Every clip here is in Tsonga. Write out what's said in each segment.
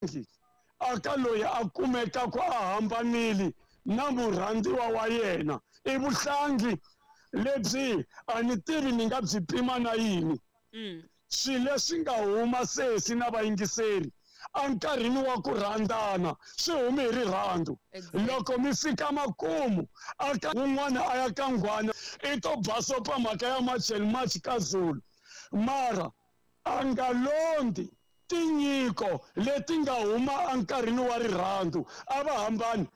Vuhlangi aka loyi a kumekaku a hambanile na murhandziwa wa yena i vuhlangi lebyi a ni tivi ni nga byi pima na yini. Swilo leswi nga huma sesi na vayingiseri enkarhini wa ku rhandzana swi humi hi rirhandzu. Loko mi fika makumu aka wun'wana a ya ka nghwana i to basopa mhaka ya March and March ka Zulu mara a nga londzi Tinyiko leti nga huma enkarhini wa rirhandzu a va hambani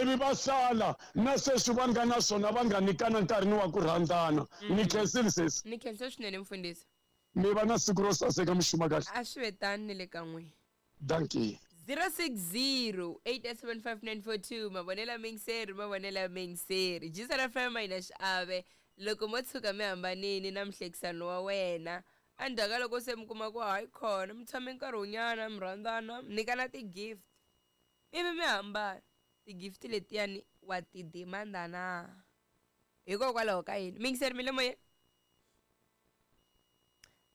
ivi va sala na sweswi va nga na swona va nga nyikana nkarhini wa ku rhandzana. Ni khensile sesi. Ni khensa swinene mfundhisi. Mi va na siku ro saseka mi xuma kahle. A swi ve tano ni le ka n'wina. Dankie. 060 875 mavonelo ya muyingiseri mavonelo ya muyingiseri Jisana FM a yi na xiave loko mo tshuka mi hambanini na muhlekisani wa wena Endzhaku ka loko se mi kuma ku hayi khona mi tshame nkarhi wo nyana mi rhandzana mi nyikana ti-gift ivi mi hambana ti-gift letiyani wa ti demand-a na hikokwalaho ka yini miyingiseri mi le moyeni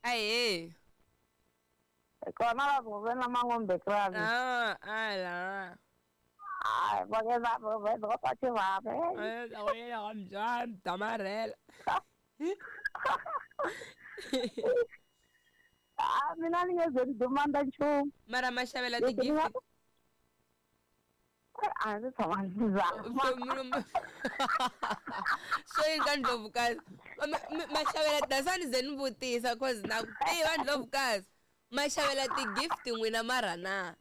ahee Kona va vuvena mangombe kravi. Ah, ala. Hayi, va va va va va va va. Eh, la wena wa mbyana damarhela. Ah, mina ni nge ze ni demanda nchumu. Mara ma xavela Leswi ni nga ti-gift. A ndzi tshama ndzi zama. Swo yini ka ndlovukazi ma xavela dasani ze ni vutisa cause na ku tiva ndlovukazi ma xavela ti-gift n'wina mara na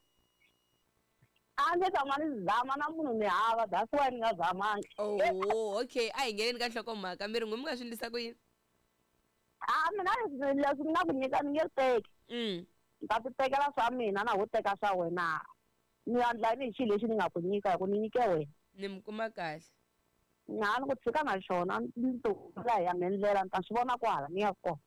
A ndzi tshama ni zama na munhu ni hava that's why ni nga zamangi. Oh, okay a hi ngheneni ka nhlokomhaka mi ri n'wi mi nga swi endlisa ku yini A mina leswi leswi ni nga ku nyika ni nge teki. Ni ta ti tekela swa mina na ho teka swa wena. Ni endla yini hi xilo lexi ni nga ku nyika hi ku ni nyike wena. Ni mi kuma kahle. Na ni ku tshika na xona ni ti humela hi ya me ndlela ni ta swi vona kwahala ni ya kona.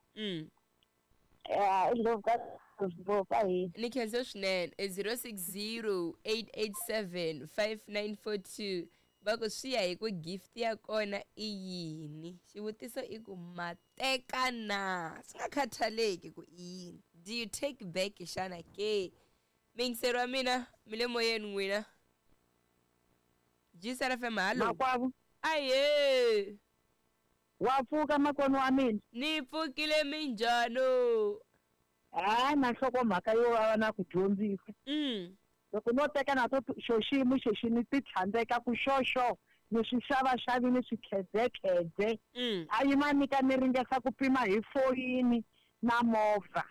Ya i ndlopfu ka ndlopfu ahee. Ni khense swinene 0608875942 va ku swi ya hi ku gift ya kona i yini xivutiso i ku ma teka na swi nga khathaleki ku i yini do you take back xana ke miyingiseri wa mina mi le moyeni n'wina Gsr FM hallo Makwavo ahee wa pfuka makwenu wa mina ni pfukile minjhano hayi na nhlokomhaka yo vava na ku dyondzisa loko no teka na to xo xiyimo xexi ni ti tlhandleka ku xoxo ni swi xavaxavi ni swi khedzekhedze a yima nyika ni ringesa ku pima hi foyini na movha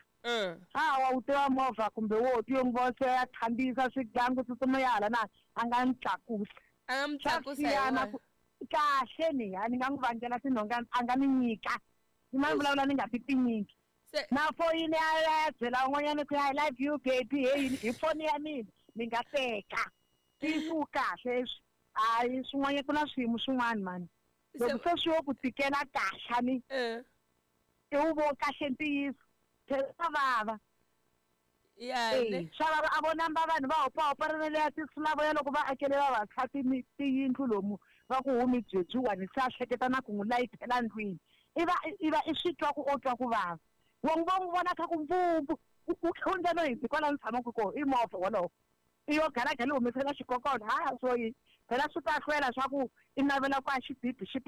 a wa wu tiva movha kumbe wo ti yo n'wi vona se ya khandziyisa swigangu tsutsuma ya hala na a nga ni tlakusa a nga mi swa tlakusa hi siyana wona ku kahle ni a ni nga n'wi vangela tinhonga a nga ni nyika ni ma vulavula ni nga ti tinyiki se na foyini ya ya byela un'wanyana ku I love you baby hey hi foni ya mina ni nga teka ntiyiso wu kahle swi hayi swin'wana ku na swiyimo swin'wana mani loko se swi yo ku tikela kahle ni i wu vo kahle ntiyiso phela swa vava ya Eh, ne swa vava a vo namba vanhu va hopahopanana leya tinsulavoya loko va akele vavasati tiyindlu lomu va ku humi byebyiwani se a hleketa na ku n'wi layithela ndlwini i va i va i swi twa ku o twa ku vava wa n'wi va n'wi vona kha ku mbumbu u hundza no hindzi kwala ni tshamaka kona i movha wolowo i yo galagala i humesela xikokolo ha swo yini phela swi ta hlwela swa ku i navela ku a xibibi xi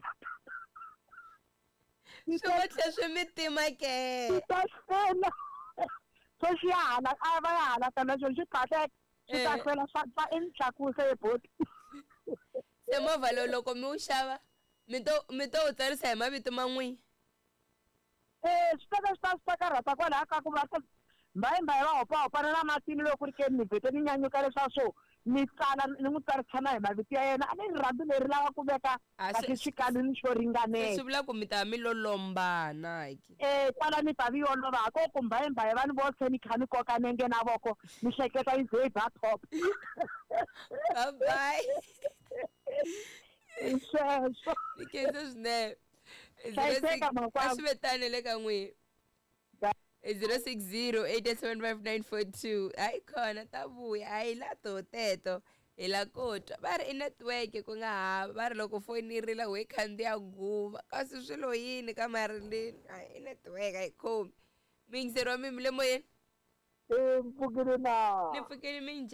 swi ngo tlhe swi mi tima ke swi ta hlwela so xi ya hala a va ya hala tana xo xi phahleka swi ta Eh. hlwela swa swa i ni tlakuse eboti se movha lowu loko mi wu xava mi to mi to wu tsarisa hi mavito ma n'wina Eh, swi ta swi ta swi ta karhata kwalaha ka ku va ta mbayimbayi va hopahopana na matini loko ku ri ke ni vhete ni nyanyuka leswaku swo ni tsala ni n'wi tsarisa na hi mavito ya yena a ni rirhandzu leri lava ku veka A kahle swi- xikalwini xo ringanela swi vula ku mi ta mi lo lombana ke eh kwala ni ta vi olova ha ko ku mbayimbayi va ni vo se ni kha ni koka nenge na voko ni hleketa yi ze yi ba top bye bye hi sweswo ni khense swinene Hlayiseka, makwavo. a swi ve tani le ka n'wina 0608755942 hayi khona ta vuya hayi la to teto hi la ko twa va ri i network ku nga hava va ri loko foni yi rila we khandziya guva kasi swilo yini ka marilini hayi i network a yi khomi miyingiseri wa mi mi le moyeni Eh, mpfukile na ni pfukile minjhani